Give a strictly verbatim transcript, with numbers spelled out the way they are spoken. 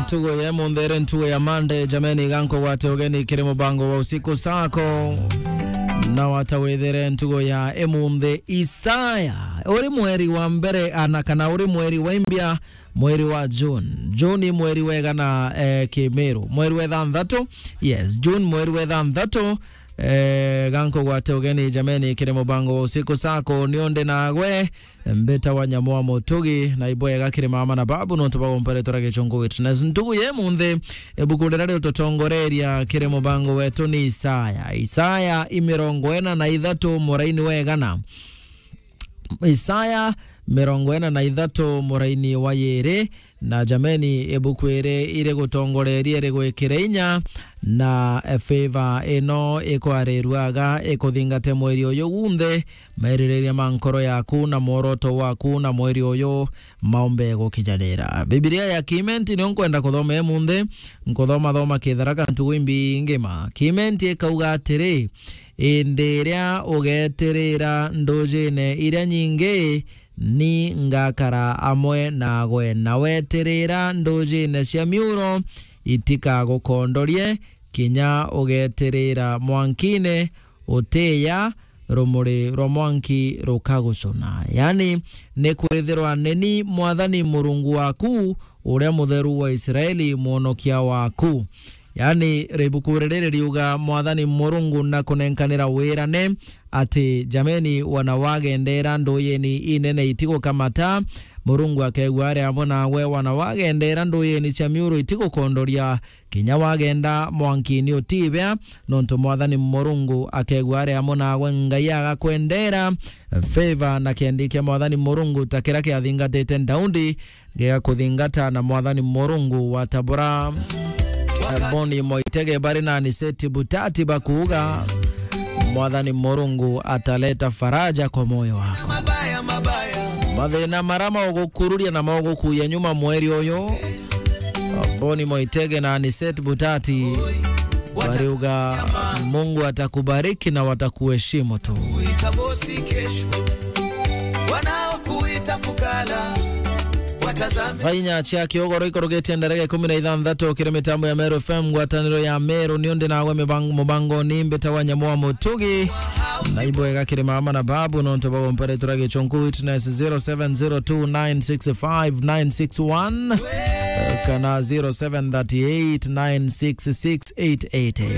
Ntugo ya emunthi iri ntugo ya Monday, jameni, gankugwate ugeni kiri mubango wa usiku sako. Na watawithere ntugo ya emunthi Isaya. Uri mweri wa mbere, ana kana uri mweri wa imbia, mweri wa June. June ni mweri wegana, eh, Kimiru. Mweri wa ithanthatu. Yes, June mweri wa ithanthatu. Eh, gankugwate ugeni, jameni, kiri mubango wa usiku sako. Ni undi nagwe, mbita wa nyamu wa mutugi, na ibwega kiri mama na babu, nontu bagompere tura gichungu witness. Ntugu ye munthi, ibuku riria rigututongoreria kiri mubango wetu ni Isaya. Isaya i mirongo ina na ithatu muraini wa igana. Isaya mirongo ina na ithatu muraini wa yiri, na jameni, ibuku iri irigutongoreria, irigwikire inya, na, eh, favor ino ikwarirua aga ikuthingate mweri uyu gunthe, meririria ma nkoro yaku na mworoto waku na mweri uyu maumbe gukinyanira. Bibilia ya Kimenti nio nkwenda kuthoma emunthi, nkuthoma thoma kitharaka ntugu imbi ngima. Kimenti ikauga atiri, indi iria ugetirira ndujine iria nyingi, ni ngakara amwe nagwe, na wetirira ndujine cia miuro itikagukondorie, kinya ugetirira mwankine utiya, rumuri rwa mwanki rukagucuna. Yani, ni kwithirwa ni ni Mwathani Murungu waku, uria Mutheru wa Israeli, Mwonokia waku. Yani, ribuku riri ririuga, Mwathani Murungu na kunenkanira wirane ati, jameni, wana wagendera nduyeni inene itigukamata, Murungu akegua ari amwe nawe, wana wagendera nduyeni cia miuru itigukondoria, kinya wagenda mwankini utibea, nontu Mwathani Murungu akegua ari amwe nawe. Ngai agakwendera favor na kiendi kia Mwathani Murungu, ta kiria kiathingatite Daudi, gigakuthingata na Mwathani Murungu. Watabura, eh, Boni Moitege bari na Aniseti Butati bakuuga, Mwathani Murungu ataleta faraja kwa moyo wako. Mathina mara maugukururia na maugukuya nyuma mweri uyu, Boni Moitege na Aniseti Butati bariuga, Mungu atakubariki na watakuheshimu tu. Kuita bosi kesho, wanaokuita fukara, watazame. Thaa inya cia kiugoro ikurugitie ndareka ikumi na ithanthatu kiri mitambo ya Meru F M, ngwataniro ya Meru, ni undi nawe mibang-, mubango ni mbita wa nyamu wa mutugi. Na ibwega kiri mama na babu, nontu bagompere tura gichunku witness zero seven zero two nine six five nine six one, kana zero seven thirty eight nine six six eight eight eight.